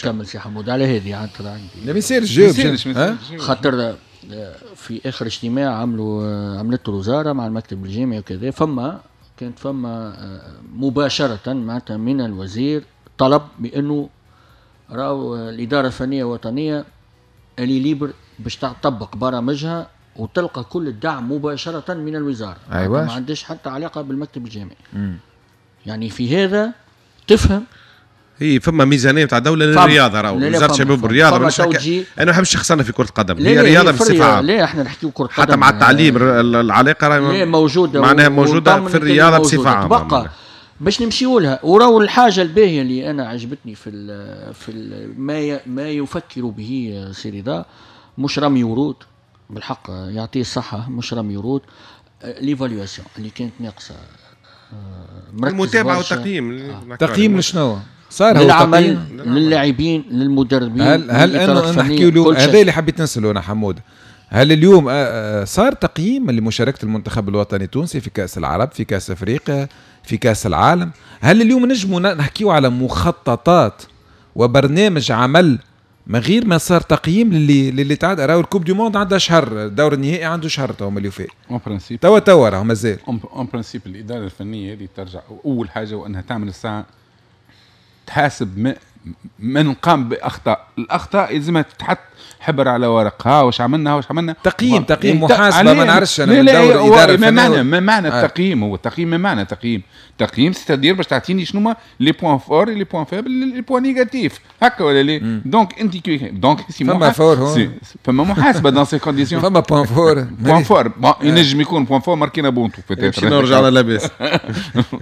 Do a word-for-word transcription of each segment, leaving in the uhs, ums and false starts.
كمل سي حمود على هذه عاد عندي. لا ما يصيرش جاوب، خاطر في اخر اجتماع عملوا عملته الوزارة مع المكتب الجامعي وكذا، فما كانت فما مباشرة معناتها من الوزير طلب بانه راهو الادارة الفنية الوطنية اللي libre باش تطبق برامجها وتلقى كل الدعم مباشرة من الوزارة. ايوه، ما عندهاش حتى علاقة بالمكتب الجامعي. مم. يعني في هذا تفهم هي فما ميزانية نتاع دولة للرياضة، راهو وزارة الشباب والرياضة. مش انا ما نحبش خسرنا في كره القدم، هي رياضة بصفة عامة. لا احنا نحكيو كره قدم حتى مع التعليم العلاقة راهي موجودة، معناها موجودة في الرياضة بصفة عامة. تبقى باش نمشيو لها. وراو الحاجة الباهيه اللي انا عجبتني في ال في ال ما ما يفكر به سي رضا، مش رمي ورود بالحق، يعطيه الصحة، مش رمي ورود، l'évaluation اللي كانت ناقصه، المتابعة والتقييم. آه. تقييم لشنو؟ صار هو للعمل، للاعبين، للمدربين. هل هل انه نحكي له هذا اللي حبيت نساله انا حمود، هل اليوم صار تقييم لمشاركة المنتخب الوطني التونسي في كاس العرب، في كاس افريقيا، في كاس العالم؟ هل اليوم نجموا نحكيو على مخططات وبرنامج عمل من غير ما صار تقييم للي للي تعدى؟ راهو ال coupe du monde عندها شهر، الدور النهائي عنده شهر تو اللي فات. en principe توا توا راهو مازال. en principe الادارة الفنية هذه ترجع اول حاجة وانها تعمل الساعة تحاسب من قام باخطاء، الاخطاء يلزمها تتحط حبر على ورق، ها واش عملنا واش عملنا. تقييم تقييم محاسبه، ما نعرفش انا من دور الادارة ما معنى ما معنى التقييم؟ هو التقييم ما معنى تقييم؟ تقييم c'est-à-dire باش تعطيني شنو هما les points forts، les points faibles، les points négatifs، هكا ولا لا؟ donc انت كي donc c'est فما fort، فما محاسبه dans ces conditions، فما point fort، point fort ينجم يكون point fort ماركينا بونتو peut-être نرجع على لاباس،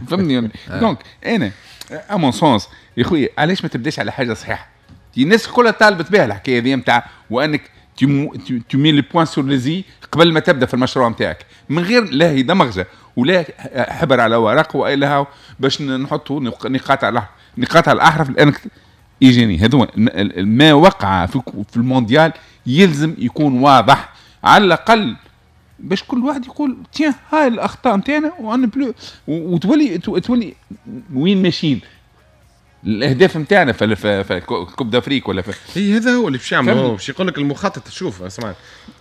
فهمني؟ donc انا à mon sens يا خويا علاش ما تبداش على حاجة صحيحه؟ الناس كلها طالبت بها الحكاية هذه نتاع وانك tu mets les points sur les i قبل ما تبدا في المشروع نتاعك، من غير لا هي دمغجه ولا حبر على ورق والا باش نحطوا نقاط على نقاط على الاحرف، لانك يجيني هذو ما وقع في, في المونديال يلزم يكون واضح على الاقل باش كل واحد يقول tiens هاي الاخطاء نتاعنا وانا بلو، وتولي تولي وين ماشيين الاهداف نتاعنا في في coupe d'Afrique ولا في هي. هذا هو اللي باش يعمل، هو باش يقول لك المخطط. شوف اسمع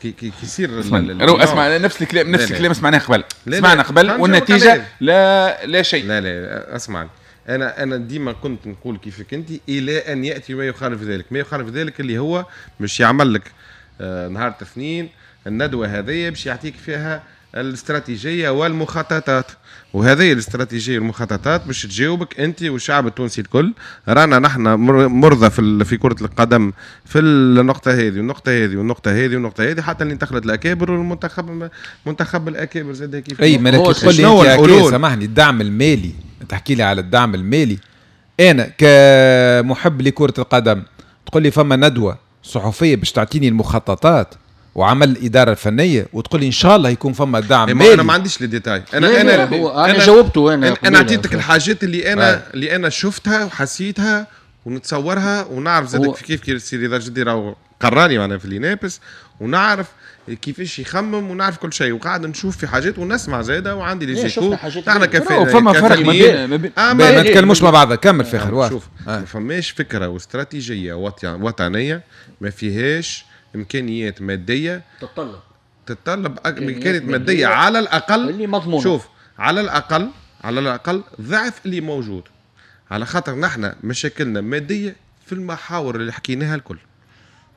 كي كي يصير اسمع نفس الكلام نفس الكلام سمعناه قبل، سمعنا قبل والنتيجة لا لا شيء. لا لا اسمع، انا انا ديما كنت نقول كيفك انت الى ان ياتي ما يخالف ذلك، ما يخالف ذلك اللي هو مش يعمل لك آه نهار الاثنين الندوة هذه باش يعطيك فيها الاستراتيجية والمخططات، وهذه الاستراتيجية والمخططات باش تجاوبك انت والشعب التونسي الكل. رانا نحن مرضى في في كره القدم في النقطة هذه والنقطة هذه والنقطة هذه والنقطة هذه، حتى اللي انتقلت الاكابر والمنتخب منتخب الاكابر زاد كيف. اي ما تقول لي انت سامحني الدعم المالي، تحكي لي على الدعم المالي، انا كمحب لكرة القدم تقول لي فما ندوه صحفية باش تعطيني المخططات وعمل الادارة الفنية وتقول لي ان شاء الله يكون فما دعم مالي. انا ما عنديش les détails، انا انا هو انا جاوبته، انا انا اعطيتك الحاجات اللي انا اللي انا شفتها وحسيتها ونتصورها ونعرف زاد كيف كيف سي رضا جدي راهو قراني معنا في l'INEPS، ونعرف كيفاش يخمم ونعرف كل شيء، وقاعد نشوف في حاجات ونسمع زاده وعندي les échos. نحن كفاءة فما فرق ما بين ما نتكلموش مع بعض. كمل فخر. شوف ما فماش فكرة واستراتيجيه وطنية ما فيهاش امكانيات مادية تتطلب تتطلب امكانيات مادية على الاقل اللي مضمونه. شوف على الاقل على الاقل ضعف اللي موجود، على خاطر نحن مشاكلنا مادية في المحاور اللي حكيناها الكل،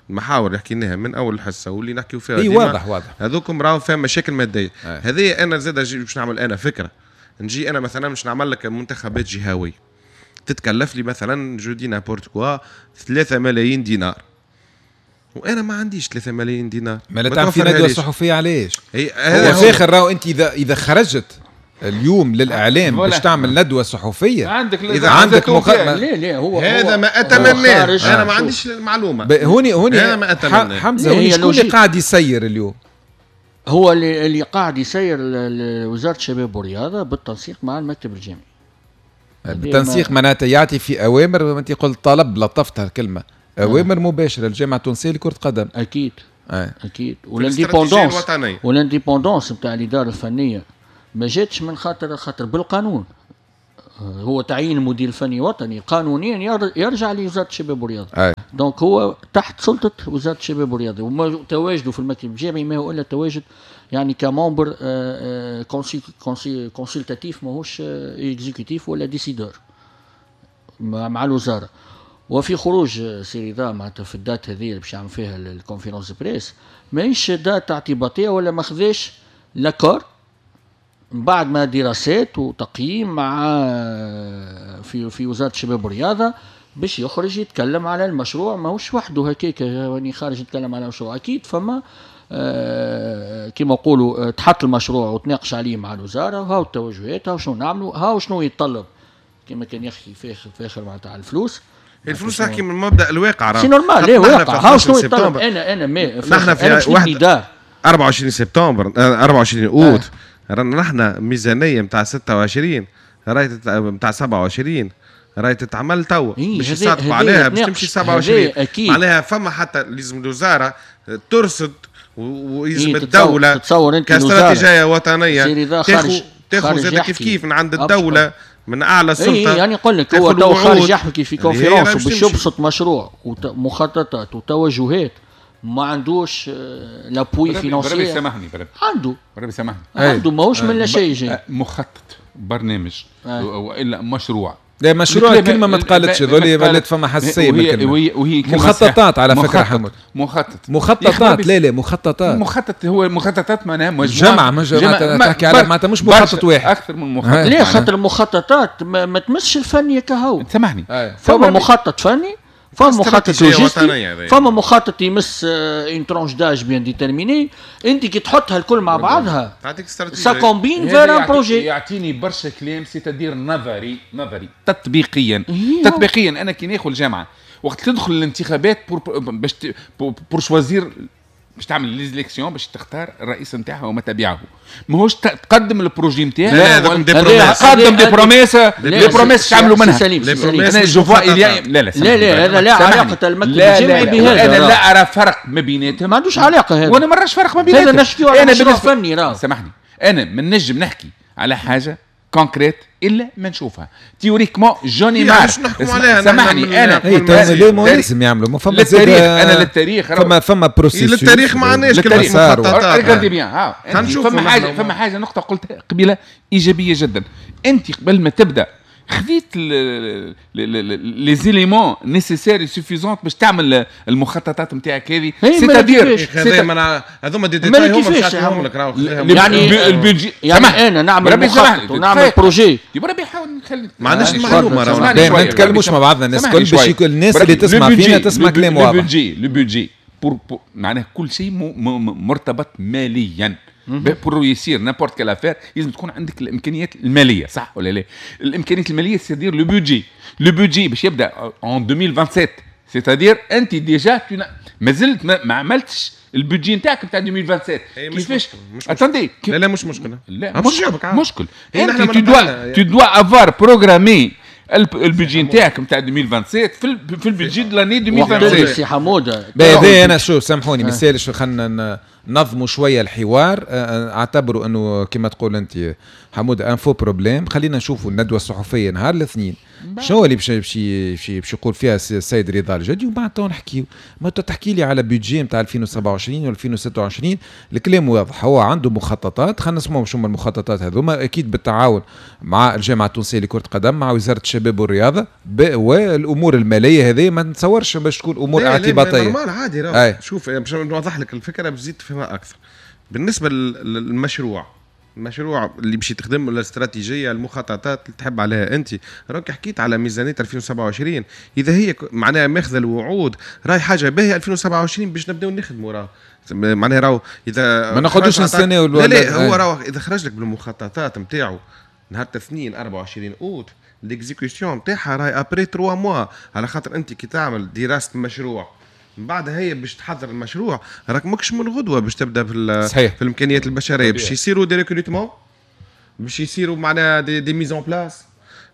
المحاور اللي حكيناها من اول الحصة واللي نحكيو فيها اي واضح واضح هذوكم راهو فيها مشاكل مادية. هذه انا زاد باش نعمل انا فكرة، نجي انا مثلا باش نعمل لك منتخبات جهويه تتكلف لي مثلا je dis n'importe quoi ثلاثة ملايين دينار، وانا ما عنديش ثلاثة ملايين دينار. ما لا تعمل في ندوه صحفية علاش؟ هو فاخر راهو انت اذا اذا خرجت اليوم للاعلام باش تعمل ندوه صحفية عندك اذا عندك مخ... لا لا هو هذا ما اتمناه، انا ما عنديش المعلومة. هوني هوني هذا ما اتمناه. حمزة هوني شكون اللي قاعد يسير اليوم؟ هو اللي اللي قاعد يسير وزارة الشباب والرياضة بالتنسيق مع المكتب الجامعي. بالتنسيق معناتها يعطي في اوامر، انت قلت طلب، لطفتها الكلمة، اوامر مباشرة للجامعة التونسية لكرة القدم. اكيد آه. اكيد. وال indépendance وال indépendance نتاع الادارة الفنية ما جاتش من خاطر خاطر بالقانون. هو تعيين مدير فني وطني قانونيا يرجع لوزارة الشباب والرياضة. donc هو تحت سلطة وزارة الشباب والرياضة، وتواجده في المكتب الجامعي ما هو الا تواجد يعني ك membre consultatif، ماهوش exécutif ولا décideur مع الوزارة. وفي خروج سي رضا معناتها في ال date هذه اللي باش يعمل فيها ال conférence presse، ماهيش date اعتباطيه ولا ما خذاش l'accord بعد ما دراسات وتقييم مع في في وزارة الشباب والرياضة باش يخرج يتكلم على المشروع. ماهوش وحده هكاك يعني خارج يتكلم على المشروع، اكيد فما آه كما نقولوا تحط المشروع وتناقش عليه مع الوزارة، وهاو التوجهات، هاو شنو نعملوا، هاو شنو يتطلب كما كان يحكي في اخر في اخر معناتها على الفلوس. الفلوس تحكي من مبدا الواقع، c'est normal. لا واقع هاو شنو يتطلب. انا انا ما نحن في واحد أربعة وعشرين سبتمبر أربعة وعشرين اوت آه. رانا نحن ميزانية نتاع ستة وعشرين راهي نتاع سبعة وعشرين راهي تتعمل توا باش يصادقوا عليها باش تمشي سبعة وعشرين. معناها فما حتى لازم الوزارة ترصد ويلزم إيه الدولة كاستراتيجيه وطنية تاخذ تاخذ زاد كيف كيف من عند الدولة من اعلى السلطة. إيه يعني نقول لك هو تو خارج يحكي في conférence باش يبسط مشروع ومخططات وتوجهات، ما عندوش l'appui financier. بربي سامحني، بربي عنده، بربي سامحني عنده، ماهوش من لا شيء جاي مخطط برنامج والا مشروع. لا مشروع الكلمة ما تقالتش، هذول ولات فما حساسية من الكلمة. وهي وهي مخططات على فكرة حمود، مخطط مخططات لا لا مخططات مخطط هو مخططات معناها مجموعة مجموعة تحكي على معناتها مش مخطط واحد، اكثر من مخطط. لا خاطر المخططات ما, ما تمسش الفني كهو. سامحني، فما مخطط فني، فما مخطط لوجستي، فما مخطط يمس une tranche d'âge bien déterminée. انت كي تحطها الكل مع بعضها تعطيك استراتيجية، ça combine vers un projet. يعطيني برشا كلام c'est-à-dire نظري نظري تطبيقيا تطبيقيا انا كي ناخذ الجامعة وقت تدخل الانتخابات باش pour choisir باش تعمل les élections باش تختار الرئيس نتاعها وما تبعه، ماهوش تقدم ال projet نتاعها. لا قدم des promesses، les promesses عملوا منها. انا je vois لا لا لا لا هذا لا علاقة المكتب الجامعي بهذا. انا لا ارى فرق ما بيناتهم، ما عندوش علاقة هذا، وانا ما نراش فرق ما بيناتهم. هذا نحكيو على مشروع فني راه. سامحني، انا ما نجم نحكي على حاجة concrète الا ما نشوفها théoriquement. j'en ai marre سامحني انا لازم يعملوا ما فما للتاريخ. انا للتاريخ فما فما processus للتاريخ ما عندناش كلمة مخططات. regardez bien، ها فما حاجة فما حاجة نقطة قلتها قبيلة ايجابية جدا. انت قبل ما تبدا خذيت les éléments nécessaires suffisants باش تعمل المخططات نتاعك هذه. c'est-à-dire هذوما des détails هما باش يعطيهم لك راهو. يعني ال budget يعني انا نعمل مخطط ونعمل projet بربي حاول نخلي ما عندناش المعلومة راهو، ما نتكلموش مع بعضنا الناس الكل باش الناس اللي تسمع فينا تسمع كلام واضح. le budget le budget pour معناه كل شيء مرتبط ماليا. pour réussir n'importe quelle affaire لازم تكون عندك الامكانيات المالية، صح ولا لا؟ الامكانيات المالية c'est-à-dire le budget، le budget باش يبدا en ألفين وسبعة وعشرين، c'est-à-dire انت déjà مازلت ما عملتش ال budget نتاعك نتاع ألفين وسبعة وعشرين. كيفاش؟ attendez، لا لا مش مشكلة، لا مش مشكل. انت tu dois tu dois avoir programmé ال budget نتاعك نتاع ألفين وسبعة وعشرين في في ال budget de l'année ألفين وسبعة وعشرين. سي حموده باهي انا شو سامحوني ما يسالش، خلينا نظموا شوية الحوار. اعتبروا انه كما تقول انت حموده un faux problème. خلينا نشوفوا الندوة الصحفية نهار الاثنين شنو اللي باش باش باش يقول فيها السيد رضا الجدي، وبعد تو نحكيو. ما تحكي لي على budget نتاع ألفين وسبعة وعشرين و ألفين وستة وعشرين، الكلام واضح، هو عنده مخططات. خلينا نسمعوا شو هما المخططات هذوما، اكيد بالتعاون مع الجامعة التونسية لكرة القدم، مع وزارة الشباب والرياضة، والامور المالية هذه ما نتصورش باش تكون امور اعتباطيه. normal عادي راه. شوف باش نوضح لك الفكرة باش تزيد تفهمها اكثر. بالنسبة للمشروع، المشروع اللي باش تخدم الاستراتيجية المخططات اللي تحب عليها انت، راك حكيت على ميزانية ألفين وسبعة وعشرين، اذا هي معناها ماخذه الوعود راهي حاجة باهيه ألفين وسبعة وعشرين باش نبداو نخدموا. راه معناها راهو اذا ما ناخذوش نستناو. لا لا هو راهو اذا خرج لك بالمخططات نتاعو نهار الاثنين أربعة وعشرين اوت، l'exécution نتاعها راهي après ثلاثة mois، على خاطر انت كي تعمل دراسة مشروع من بعد هي باش تحضر المشروع راك ماكش من غدوه باش تبدا في صحيح. في الامكانيات البشرية باش يصيروا des recrutements، باش يصيروا معناها des, des mises en place،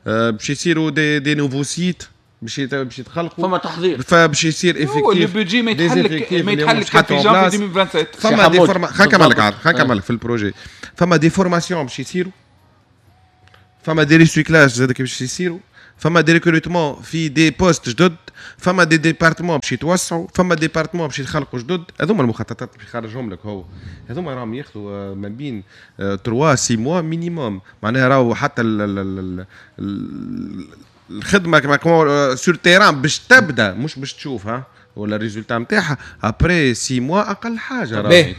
باش يصيروا des des nouveaux sites باش باش يتخلقوا، فما تحضير، فباش يصير effectif. le budget ما يتحلك ما يتحلك في جانفي ألفين وسبعة وعشرين. فما des forma خلينا نكمل لك خلينا نكمل لك في ال projet. فما des formations باش يصيروا، فما des recyclages زاد باش يصيروا، فما des recrutements في des postes جدد، فما des départements باش يتوسعوا، فما départements باش يتخلقوا جدد. هذوما المخططات باش يخرجهم لك هو، هذوما راهم ياخذوا ما بين ثلاثة ستة mois minimum. معناها راهو حتى ال ال ال الخدمة كما sur terrain باش تبدا، مش باش تشوفها ولا ال résultat نتاعها après six mois اقل حاجة. راه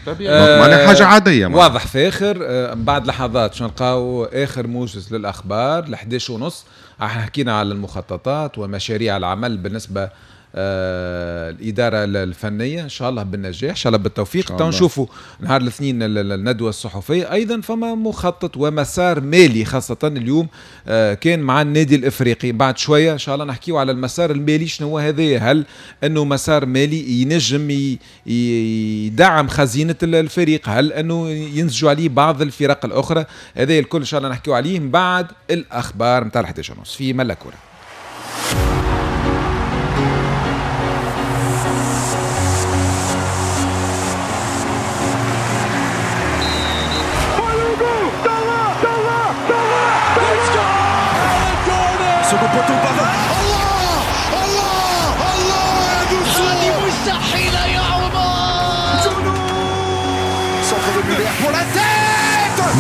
معناها حاجة عادية. واضح فاخر. بعد لحظات شنو نلقاو اخر موجز للاخبار ل إحداش ونص. حكينا على المخططات ومشاريع العمل بالنسبة آه الإدارة الفنية، إن شاء الله بالنجاح، إن شاء الله بالتوفيق. تو نشوفوا نهار الاثنين الندوة الصحفية. أيضا فما مخطط ومسار مالي خاصة اليوم آه كان مع النادي الإفريقي. بعد شوية إن شاء الله نحكيو على المسار المالي، شنو هو هذا؟ هل أنه مسار مالي ينجم يدعم خزينة الفريق؟ هل أنه ينسجوا عليه بعض الفرق الأخرى؟ هذا الكل إن شاء الله نحكيو عليه من بعد الأخبار متاع الحداش ونص في ملا كورة.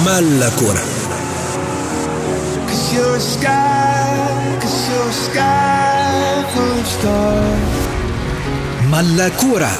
ملا كورة. ملا كورة.